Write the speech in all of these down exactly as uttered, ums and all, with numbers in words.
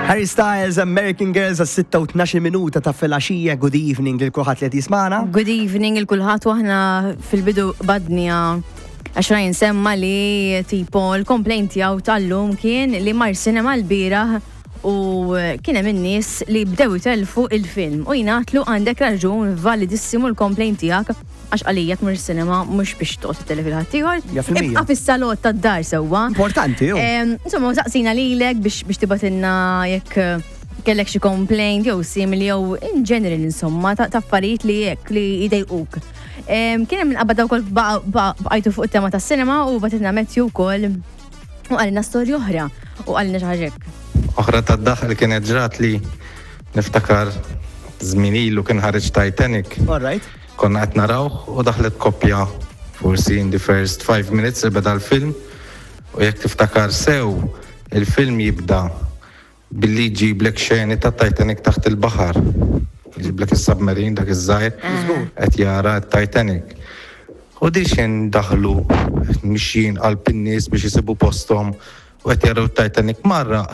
Harry Styles, American Girls, għas sitta u tnax-il minuta ta' filgħaxija. Good evening lil kulħadd li qed jismagħna. Good evening lil kulħadd, u aħna fil-bidu badnija għax Ryan semma li tipo l-complaint tiegħu tal-lum kien li mar cinema l-bieraħ u kien hemm in-nies li bdew jitelfu il-film u jingħatlu għandek raġun, validissimu l-complaint tiegħek, għax għalija tmur cinema mhux biex toqgħod titellef lil ħaddieħor. Ja fil-mija. Ibqa' fis-salott tad-dar sewwa. Importanti, ju. Em, Insomma, saqsina lilek biex biex tibgħatilna jekk eh, kellek xi complaint jew simili jew in general, insomma, ta' ta' affarijiet li jekk li jdejquk. Em, Kien hemm minqabba wkoll bqajtu fuq it-tema tas-cinema u bagħtilna Matthew wkoll u qalilna storja oħra u qalilna xi ħaġa hekk. Oħra ta' daħal kienet ġrat li niftakar żmien ilu kien ħareġ Titanic. All right. Konna qed narawh u daħlet koppja forsi in the first five minutes li beda l-film, u jekk tiftakar sew, il-film jibda billi jġiblek xeni ta' Titanic taħt il-baħar. Jġiblek is-submarine dak iż-żgħir qed jara t-Titanic. U di xejn daħlu mixjin qalb in-nies biex isibu posthom u qed jaraw Titanic marra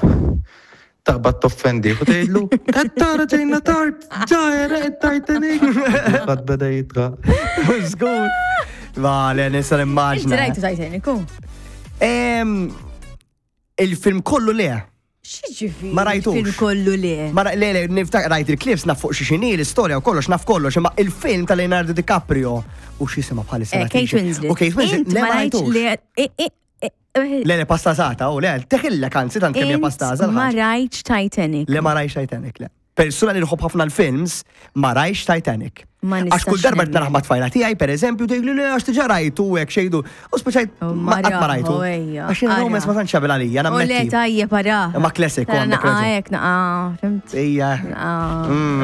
taqbad toffendi u tgħidlu, "Qed tara ġejna tard, ġa Titanic." Ħadd beda jidħak. Żgur. Vale, nista' nimmaġna. Inti rajtu Titanic, u? Em, Il-film kollu le. X'jiġifieri? Ma rajtux. Il-film kollu le. Ma ra- le, le, niftakar rajt il-clips, naf fuq xi xini, l-istorja u kollox, naf kollox, imma il-film ta' Leonardo DiCaprio u x'jisimha bħalissa? Eh, Kate Winslet. U Kate Winslet, Int le, ma ma rajtx rajtux. li eh, eh, eh, Le, le, pastażata, u le, teħillek anzi tant kemm hija Int pastaża ma l-ħaġa. rajtx Titanic. Le, ma rajtx Titanic, le. Persuna li nħobb ħafna l-films, ma rajtx Titanic. Ma Għax kull nistax darba nemmen. naraħ ma tfajla tiegħi, per eżempju, tgħidli li għax diġà rajtu hekk xejdu. U speċajt Oh, ma qatt ma rajtu. Mara, ejja, Għax jiena ara. romance ma tantx jagħmel għalija, U le, nammetti. tajjeb, ara. Ma classic, u Tara għandek naqa raġun. hekk, naqa, fhimt? Ija. Naqa. Mm.